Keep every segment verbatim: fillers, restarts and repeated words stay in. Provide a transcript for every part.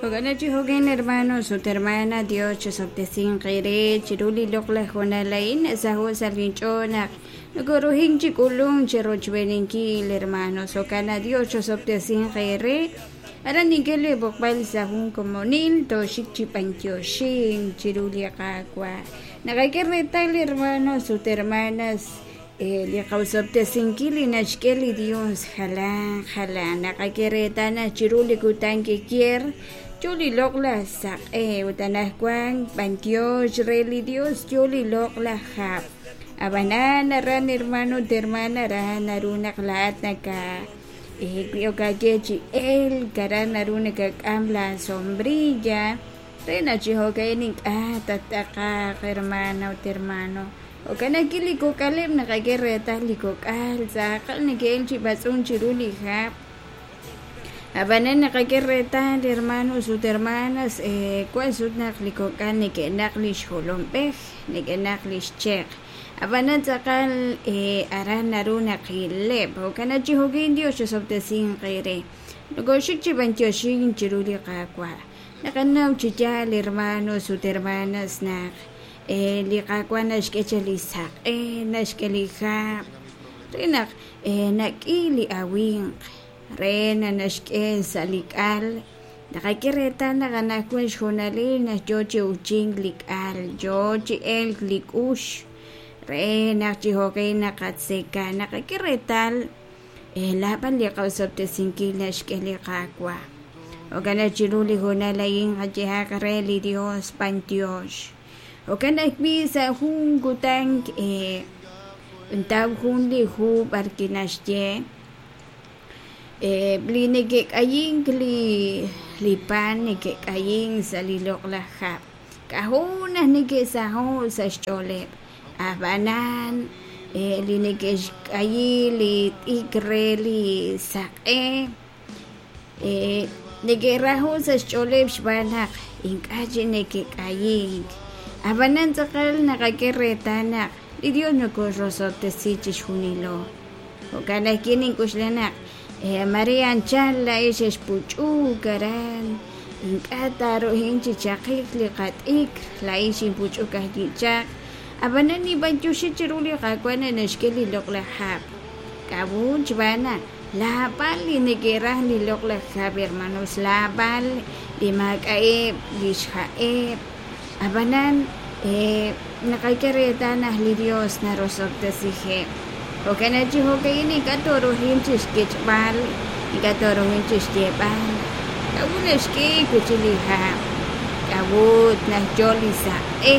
Jo'kan chi jo'kan, hermanos ut hermana, Dios chosob'tesinq eere chiru li loq'laj hoonal a'in nasaho' sa' linch'ool naq nokoruhin chi k'ulunk cherochb'eeninkil, hermanos. Jo'kan naq Dios chosob'tesinq eere. Aran nink'e li b'oqb'al sa' jun komonil tooxik chi b'antioxink chiru li Qaawa'. Naqak'e reetal, hermanos ut hermanas, eh, li qawsob'tesinkil li naxk'e li Dios jalan jalan. Naqak'e reetal naq chiru li kutan kikier yo li loq'laj saq'e ut anaqwan b'antiox re li Dios yo li loq'laj hab'. Ab'anan aran, hermano ut hermana, aran naru naq laa'at naka eh, wi okaye chi elk aran naru nakak'am la sombrilla re naq chi jo'ka'in ink'a' tattaqaq, hermana ut hermano. Jo'kan ajwi' li kok'aleb' naqak'e reetal li kok'al tz'aqal neke'el chi b'atz'unk chiru li hab'. Ab'anan naqak'e reetal, hermanos ut hermanas, eh, wan sut naq li kok'al neke'naq li xjolomb'ej, neke'naq li xcheq. Ab'anan tz'aqal eh, aran naru naqileb'. Jo'kan naq chi jo'kin Dios chosob'tesinq eere. Nokoxik chi b'antioxink chiru li Qaawa'. Naqanaw chi yaal, hermanos ut hermanas, naq eh, li Qaawa' naxk'e cha li saq'e, naxk'e li hab', re naq eh, nak'i li awinq, re naq naxk'e sa' li k'al. Naqak'e reetal naq anaqwan xhoonalil naq yo chi uchink li k'al, yo chi elk li k'ux, re naq chi jo'kan naqatzeka. Naqak'e reetal eh, laab'al li qawsob'tesinkil naxk'e li Qaawa'. Jo'kan naq chiru li hoonal a'in qayehaq re li Dios b'antiox. Jo'kan ajwi' sa' jun kutan eh, ntaw jun li hu b'ar kinaxye eh, li neke'k'ayink li li pan neke'k'ayink sa' li loq'laj hab'. K'ajo' naq neke'saho' sa' xch'ooleb'. Ab'anan eh, li neke'xk'ayi li t'ikr re li saq'e eh, neke'raho' sa' xch'ooleb' xb'aan naq ink'a' chi neke'k'ayink. Ab'anan tz'aqal naqak'e reetal naq li Dios nokoxrosob'tesi chixjunilo. Jo'kan ajwi' nink'uxla naq eh, Maria anchal la'ex xexpuch'uk aran ink'a' taaruhin chi chaqik li qat'ikr la'ex xinpuch'uk ajwi' chaq. Ab'anan nib'antioxi chiru li Qaawa' naq naxk'e li loq'laj hab'. K'a'ut xb'aan naq laab'al li neke'raj li loq'laj hab', hermanos, laab'al li maak'a'eb' li xja'eb'. Ab'anan eh, naqak'e reetal naq li Dios narosob'tesijeb'. Jo'kan naq chi jo'ka'in ink'a' tooruhin chi xkech'b'al, ink'a' tooruhin chi xyeeb'al. K'a'ut naxk'e wi' chi li hab', k'a'ut naq yo li saq'e.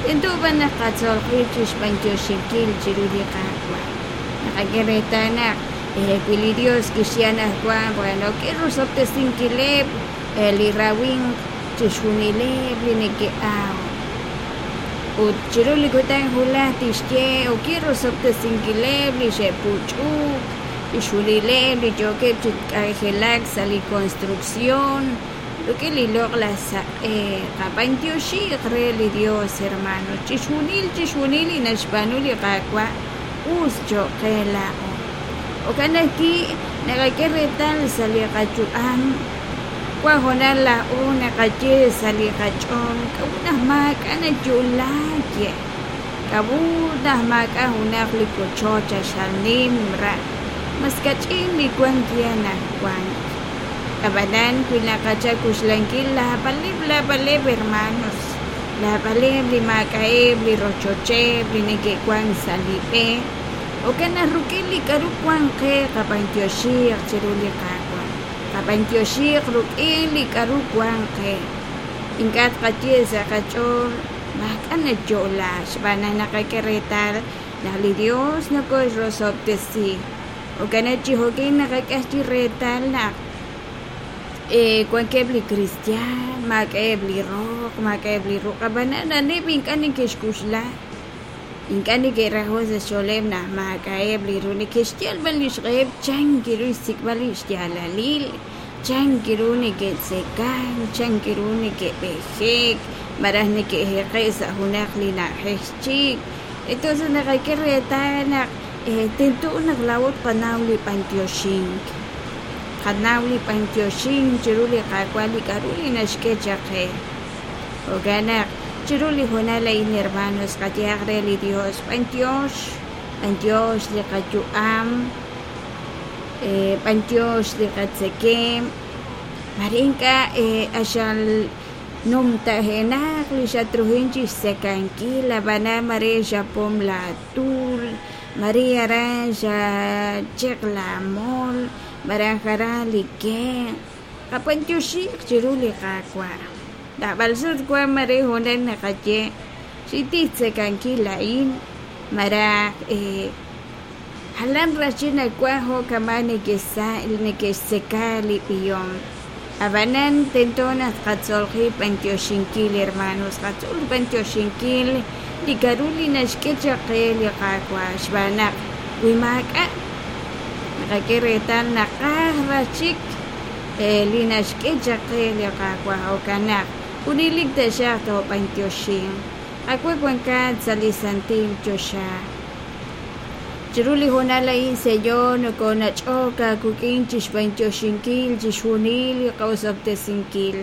Tento b'an naq qatzol qib' chi xb'antioxinkil chiru li Qaawa'. Naqak'e reetal naq eh, wi li Dios kixye anaqwan, bueno, k'e rosob'tesinkileb' eh, li rawinq chixjunileb' li neke'aw. Ut chiru li kutan wulaj tixye o k'e rosob'tesinkileb' li xe'puch'uk, chixjunileb' li yookeb' chi k'anjelak sa' li construcción, rik'in li loq'laj saq'e. Qab'antioxiq re li Dios, hermano. Chixjunil, chixjunil li naxb'aanu li Qaawa' us cho'q qe laa'o. Jo'kan ajwi' naqak'e reetal sa' li qayu'am wan hoonal laa'o naqaye sa' li qach'ool k'a'ut naq maak'a' nayo'laak ye. K'a'ut naq maak'a' junaq li kochoch xal nim ra', mas kach'in li wan ye anaqwan. Ab'anan wi naqachak kuxlankil laab'aleb' laab'aleb' hermanos, laab'aleb' li maak'a'eb' li rochocheb' li neke'wan sa' li b'e. Jo'kan naq rik'in li k'aru wan qe qab'antioxiq chiru li Qaawa'. Qab'antioxiq rik'in li k'aru wan qe. Ink'a' tqaye sa' qach'ool maak'a' nayo'la xb'aan naq naqak'e reetal naq li Dios nokoxrosob'tesi. Jo'kan naq chi jo'kan naqak'e chi reetal naq eh, wankeb' li cristian, maak'a'eb' li roq, maak'a'eb' li ruq', ab'anan aneb' ink'a' neke'xk'uxla. Ink'a' neke'rajo' sa' xch'ooleb' naq maak'a'eb' li ru neke'xyal b'an li xq'eheb' chan kiru xsik'b'al li xyaalalil, chan kiru neke'tzekan, chan kiru neke'b'ejek, malaj neke'jeqe' sa' junaq li na'ajej chik. Entonces naqak'e reetal naq eh, tento naq laa'o tqanaw li b'antioxink. tqanaw li b'antioxink chiru li Qaawa' li k'a'ru li naxk'e chaq qe. Jo'kan naq chiru li hoonal a'in, hermanos, qayehaq re li Dios, b'antiox, b'antiox li qayu'am, eh, b'antiox li qatzekemq, mare ink'a' eh, axal numtajenaq li xatruhin chixtzekankil, ab'anan mare xapom la tul, mare aran xacheq la mol, maraj aran li kenq', qab'antioxiiq chiru li Qaawa'. Naab'al sut wan mare hoonal naqaye xintij xtzekankil a'in, maraj eh, jalan raj chik nawaj jo' kama' neke'sa neke'xtzeka li b'ihom. Ab'anan tento naq tqatzol qib' b'antioxinkil, hermanos, qatzol b'antioxinkil li k'a'ru li naxk'e chaq qe li Qaawa' xb'aan naq wi maak'a' naqak'e reetal naqaj raj chik eh, li naxk'e chaq qe li Qaawa' jo'kan naq junelik taxaq toob'antioxinq. Qaawa' wankat sa' li santil choxa. Chiru li hoonal a'in, Señor, nokonach'ok aawik'in chixb'antioxinkil chixjunil li qa'osob'tesinkil.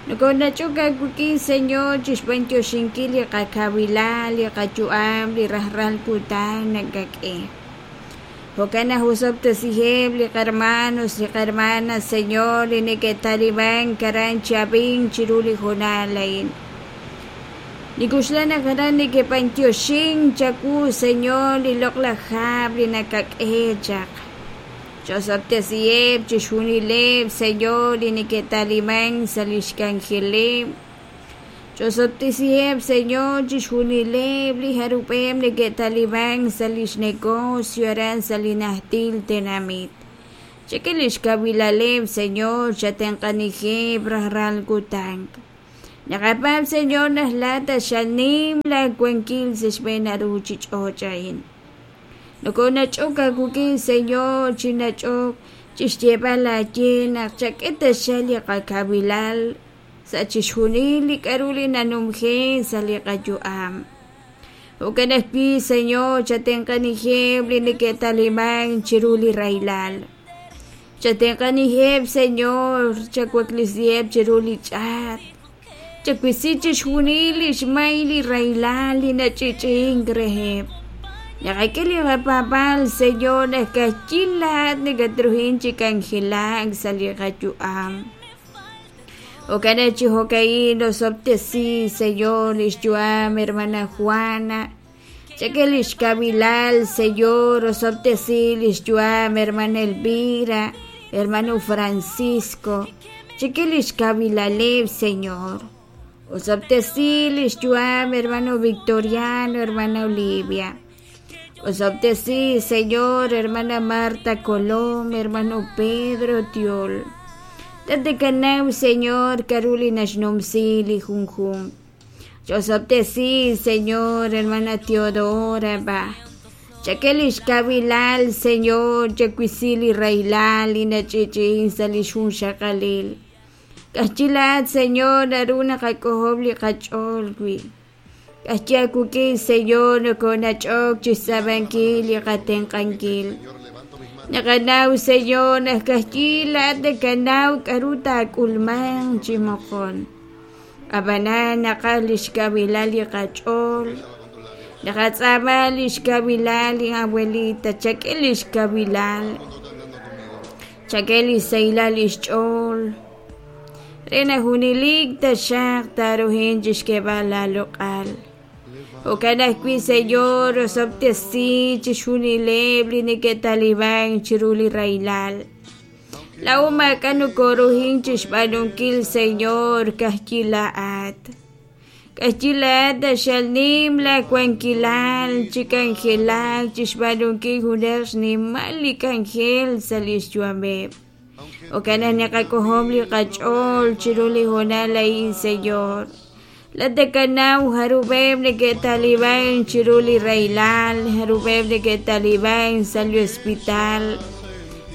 Nokonach'ok aawik'in, Señor, chixb'antioxinkil li qakawilal, li qayu'am, li rajlal kutan nakak'e. Jo'kan naq osob'tesiheb' li qarmanos, li qarmanas, Señor, li neke'talimank aran chi ab'ink chiru li hoonal a'in. Nik'oxla naq aran neke'b'antioxink chawu, Señor, li loq'laj hab' li nakak'e chaq. Chosob'tesiheb' chixjunileb', Señor, li neke'talimank sa' lix k'anjeleb'. Chosob'tesiheb', Señor, chixjunileb' li jarub'eb' neke'talimank sa' lix negocio aran sa' li najtil tenamit. Chak'e lix kawilaleb', Señor, chatenq'anijeb' rajlal kutan. Naqapaab', Señor, naq laat xanim laawankil sa' xb'een ruuchich'och' a'in. Nokonach'ok aawik'in, Señor, chinach'ok chixyeeb'al aaye naq chak'e taxaq li qakawilal sa' chixjunil li k'a'ru li nanumje sa' li qayu'am. Jo'kan ajwi', Señor, chatenq'anijeb' li neke'talimank chiru li rahilal. Chatenq'anijeb', Señor, chawaklisiheb' chiru li ch'aat. Chawisi chixjunil li xmay li rahilal li nach'i'ch'i'ink reheb'. Naqak'e li qapaab'aal, Señor, naq ka'ajwi' laat nakatruhin chi k'anjelak sa' li qayu'am. Jo'kan naq chi jo'ka'in osob'tesi, Señor, lix yu'am hermana Juana. Chak'e lix kawilal, Señor, osob'tesi lix yu'am hermana Elvira, hermano Francisco. Chak'e lix kawilaleb', Señor. Osob'tesi lix yu'am hermano Victoriano, hermana Olivia. Osob'tesi, Señor, hermana Marta Colom, hermano Pedro Tiol. Tate kanaw, Señor, k'a'ru li naxnumsi li junjunq. Chosob'tesi, Señor, hermana Teodora, ba. Chak'e lix kawilal, Señor, chawisi li rahilal li nach'i'ch'i'in sa' li xjunxaqalil. Ka'ajwi' laat, Señor, naru naqak'ojob' li qach'ool wi'. Ka'ajwi' aawik'in, Señor, nokonach'ok chixtz'ab'ankil li qatenq'ankil. Naqanaw, Señor, naq ka'ajwi' laat nakanaw k'a'ru taak'ulmanq chi moqon. Ab'anan naqaj lix kawilal li qach'ool. Naqatz'aama lix kawilal li abuelita, chak'e lix kawilal. Chak'e li sahilal lix ch'ool. Re naq junelik taxaq taaruhin chixk'eeb'al laaloq'al. Jo'kan ajwi', Señor, osob'tesi chixjunileb' li neke'talimank chiru li rahilal. Laa'o maak'a' nokoruhin chixb'aanunkil, Señor, ka'ajwi' laa'at. Ka'ajwi' laat taxal nim laawankilal chi k'anjelak chixb'aanunkil junaq xnimal li k'anjel sa' lix yu'ameb'. Jo'kan naq naqak'ojob' li qach'ool chiru li hoonal a'in, Señor. Laat nakanaw jarub'eb' neke'talimank chiru li rahilal, jarub'eb' neke'talimank sa' li hospital.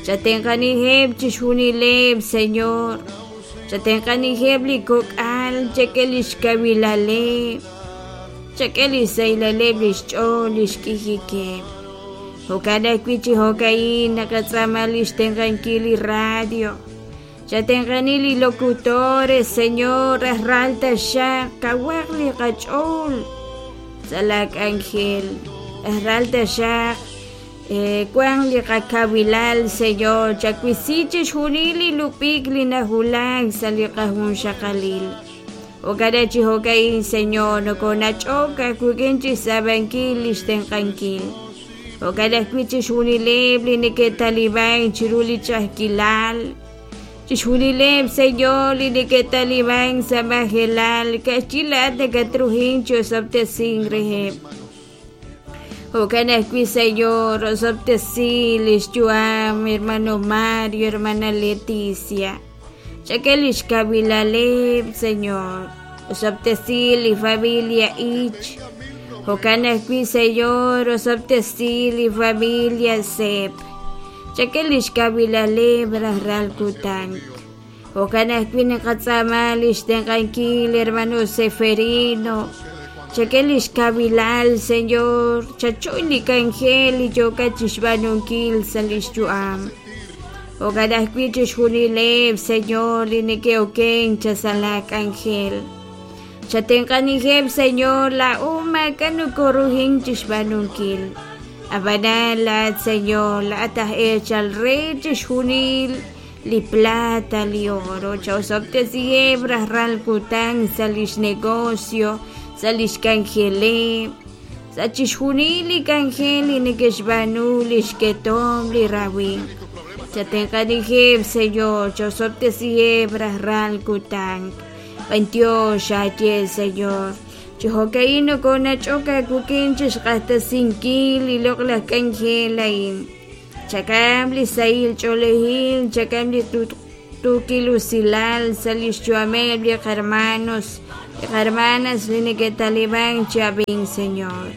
Chatenq'anijeb' chixjunileb', Señor. Chatenq'anijeb' li kok'al, chak'e lix kawilaleb', chak'e li sahilal lix ch'ool lix k'ijikeb'. Jo'kan ajwi' chi jo'ka'in naqatz'aama li xtenq'ankil li radio. Chatenq'ani li locutores, Señor, rajlal taxaq kawaq li qach'ool sa' la k'anjel. Rajlal taxaq wan li qakawilal, Señor, chawisi chixjunil li lupik li najulak sa' li qajunxaqalil. Jo'kan chi jo'ka'in, Señor, nokonach'ok ajwik'in chixtz'ab'ankil li xtenq'ankil. Jo'kan ajwi' chixjunileb' li neke'talib'an chiru li ch'a'ajkilal. Chixjunileb', Señor, li neke'talib'an sa' majelal, ka'ajwi' laa'at nakatruhin chi osob'tesink reheb'. Jo'kan ajwi', Señor, osob'tesi li xyu'am hermano Mario, hermana Leticia. Chak'e li xkawilaleb', Señor. Osob'tesi li familia Ich. Jo'kan ajwi', Señor, osob'tesi li familia Sep. Chak'e li xkawilaleb' rajlal kutan. Jo'kan ajwi' naqatz'aama li xtenq'ankil hermano Seferino. Chak'e li xkawilal, Señor, chachoy li k'anjel li yookat chixb'aanunkil sa' li xyu'am. Jo'kan ajwi' chixjunileb', Señor, li neke'oken sa' la k'anjel. Chatenq'anijeb', Señor, laa'o maak'a' nokoruhin chixb'aanunkil. Ab'anan laa'at, Señor, laa'at aj eechal re chixjunil li plata, li oro. Chaosob'tesiheb' rajlal kutan sa' lix negocio, sa' lix k'anjeleb', sa' chixjunil li k'anjel li neke'xb'aanu li xketom li rawimq. Chatenq'anijeb', Señor, chaosob'tesiheb' rajlal kutan. B'antiox aaye, Señor. Chi jo'ka'in nokonach'ok aawik'in chixq'axtesinkil li loq'laj k'anjel a'in. Chak'am li sahil ch'oolejil, chak'am li tuukil usilal sa' li xyu'ameb' li qarmanos, li qarmanas li neke'talib'an chi ab'ink, Señor.